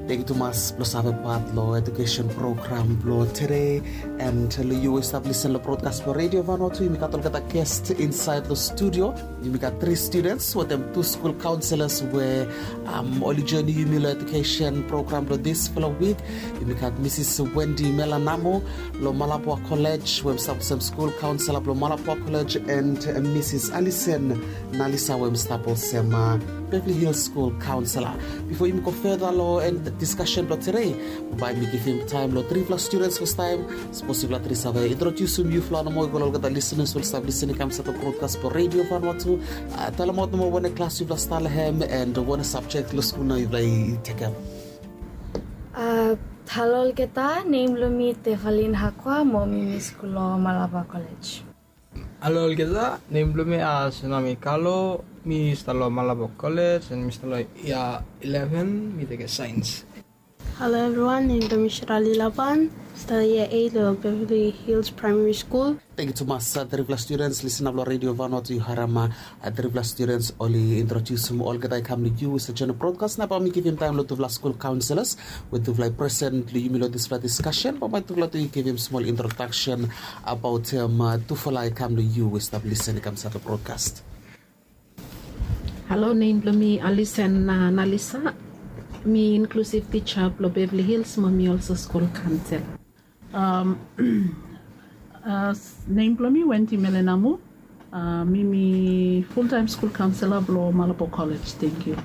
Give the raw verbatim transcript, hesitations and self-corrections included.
Thank you tumas blong save pat long education program blong today. And long yu we stap listen long broadcast blong Radio Vanuatu, yumi gat olgeta guest inside long studio. Yumi gat three students wetem two school counselors we um, oli joining yumi long education program blong this fellow week. Yumi gat Mrs. Wendy Melanamo long Malabwa College, we stap olsem school counselor blong Malabwa College, and uh, Mrs. Alison Nalisa, we stap olsem uh, Beverly Hills School Counselor. Before yumi go further long end discussion blong today, bae mi givim taem long trifala students first time. Sapos yufala tri save introdusim yufala nomo i go long olgeta listeners we oli stap listening kam insait long broadcast blong Radio Vanuatu. Uh, talemaot nomo wanem klas yufala stap long hem and wanem subject long skul nao yufala i tekem. Uh, halo olgeta, nem blong mi Tefalin Hakwa, mo mi mi skul long Malabwa College. Halo olgeta, nem blong mi Asenami Kalo, mi stap long Malabwa College and mi stap long year eleven, mi tekem science. Hello everyone, nem blong mi Shirali Laban, stap long year eight long Beverly Hills Primary School. Thank you tumas uh, trifala students listening long Radio Vanuatu, yu harem uh, trifala students oli introdusim olgeta i kam long yu i stap join long broadcast. Nao bae mi givim taem long tufala school counselors we tufala i present long yumi long disfala discussion, bae bae tufala tu i givim smol introduction abaot um, uh, tufala i kam long yu we stap listen i kam insait long broadcast. Halo, nem blong mi Alison uh, Nalisa. Mi inclusive teacher blong Beverly Hills, mo mi also school counselor. Um, uh, nem blong mi Wendy Melenamu. Uh, mi mi full time school counselor blong Malabwa College. Thank you.